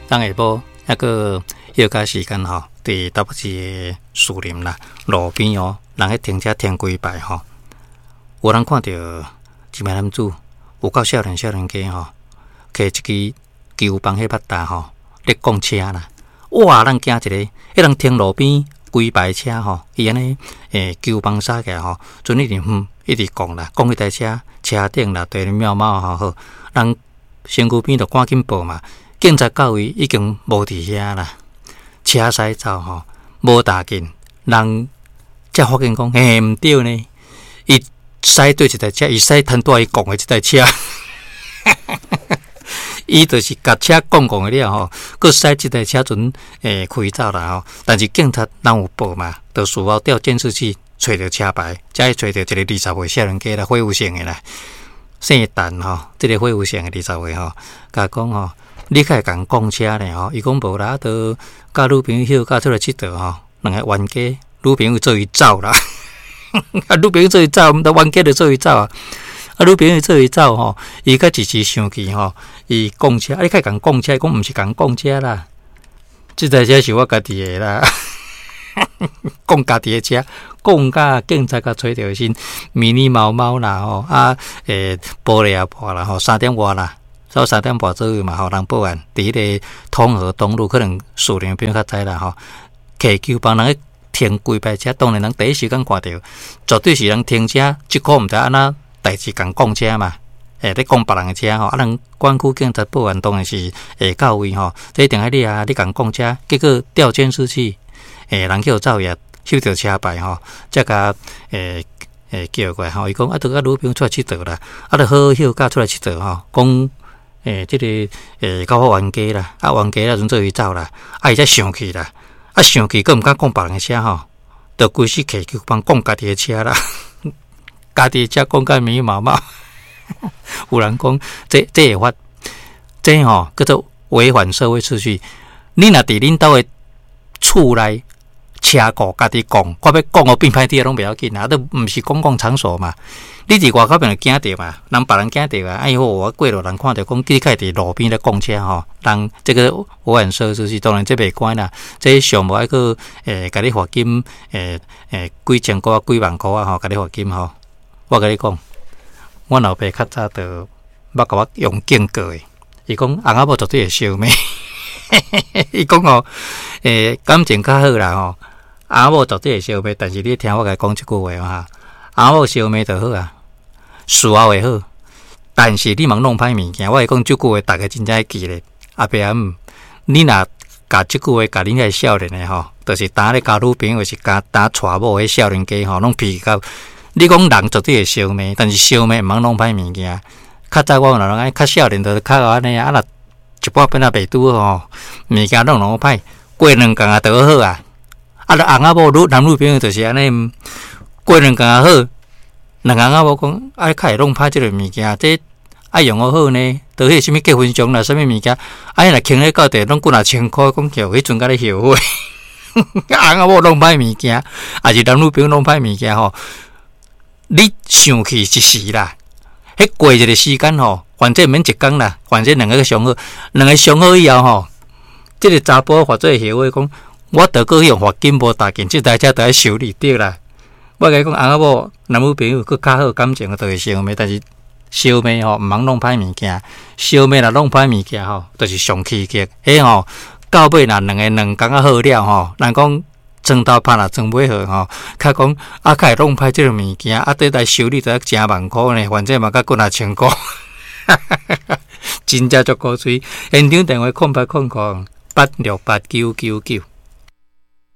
昨下晡猶閣歇假時間吼，佇台北市的士林啦，路邊哦，人彼停車停規排吼，有人看著一名男子有夠少年少年家吼，提一支球棒彼辮達吼，咧摃車啦！哇，咱驚一个，彼人停路邊規排車吼，伊按呢球棒撒起來吼，陣一直哼，一直摃啦，摃彼台車車頂啦，地妙貌吼好，人身軀邊就趕緊報嘛。警察到位已經無佇遐啦，車駛走吼，無大緊，人才發現講，嘿，毋對呢，伊駛對一台車，伊駛攤拄仔伊摃的這台車，伊就是共車摃摃的了吼，閣駛這台車陣開走啦吼。但是警察人有報嘛，就事後調監視器揣著車牌，才會揣著一個20歲少年家啦，火有姓的啦，姓陳吼，這個火有姓的20歲吼，共講吼。你較會共摃車呢吼？伊講無啦，都佮女朋友歇假出來𨑨迌吼，兩个冤家，女朋友做伊走啦，啊，女朋友做伊走，毋得冤家就做伊走啊，啊，女朋友做伊走吼，伊較一時生氣吼，伊摃車，啊，你較會共摃車？伊講毋是共摃車啦，這台車是我家己的啦，摃家己的車，摃甲警察共揣著時，密密麻麻啦吼，啊，玻璃也破啦吼，3點外啦。到3點半左右嘛吼，人報案，佇彼個通和東路，可能士林朋友較知啦吼。提球棒人咧停規排車，當然人第一時間看著，絕對是人停車，這箍毋知按怎代誌共摃車嘛，欸，咧摃別人的車吼，啊，人管區警察報案，當然是會到位吼。這一定愛你啊，你共摃車，結果調監視器，欸，人叫走去翕著車牌吼，才共欸叫過來吼。伊講啊，都佮女朋友出來𨑨迌啦，啊，著好好歇假出來𨑨迌吼，講。欸，這個欸，較好冤家啦，啊冤家了陣做伊走啦，啊伊才生氣啦，啊生氣閣毋敢摃別人的車吼，就規時提球棒摃家己的車啦，家己的車摃甲密密麻麻。有人講，這這會罰，這吼叫做違反社會秩序。你若佇恁兜的厝內車庫家己摃，看欲摃予變歹啲攏袂要緊啊，都毋是公共場所嘛。你佇外口邊就驚著嘛，人別人驚著啊。哎喲，我過路人看著講，你較會佇路邊咧摃車吼，人這個違反社會秩序，當然這袂關啦。這上無愛閣欸，共你罰金欸欸幾千箍啊，幾萬箍啊吼，共你罰金吼。我共你講，阮老爸較早就捌共我用警告的，伊講翁仔某絕對會相罵。伊講吼，欸，感情較好啦吼，翁仔某絕對會相罵，但是你聽我共你講這句話哈，翁仔某相罵就好啊。事後會好，但是你莫弄歹物件。我會講這句話，逐家真正愛記咧。阿伯阿姆，你若共這句話共恁遐少年的吼，就是當咧交女朋友，是共當娶某彼少年家吼，攏脾氣較。你講人絕對會相罵，但是相罵毋通弄歹物件。較早我老人較少年，就是較按呢啊，若一半變仔袂拄好吼，物件攏弄歹，過兩工啊就好啊。啊，若翁仔某女男女朋友就是按呢，過兩工啊好。兩翁仔某講，啊，較會弄歹這个物件，這愛用予好呢。著彼啥物結婚相啦，啥物物件，啊，若囥咧到底攏幾若千箍，講叫彼陣才咧後悔。翁仔某弄歹物件，抑是男女朋友弄歹物件吼，你生氣一時啦，彼過一个時間吼，反正毋免一工啦，反正兩个相好，兩个相好以後吼，這个查埔發做後悔講，我著閣去予罰金無大件，這台車著愛修理對啦。我共你講，翁仔某男女朋友閣較好感情，就會相罵，但是相罵吼，毋通弄歹物件。相罵若弄歹物件吼，就是上起激。彼吼到尾若兩个兩工仔好了吼，人講床頭拍若床尾和吼，較講啊，較會弄歹這个物件，啊，這來修理都愛成萬箍呢，反正嘛閣幾若千箍，真正足古錐。現場電話0800868999。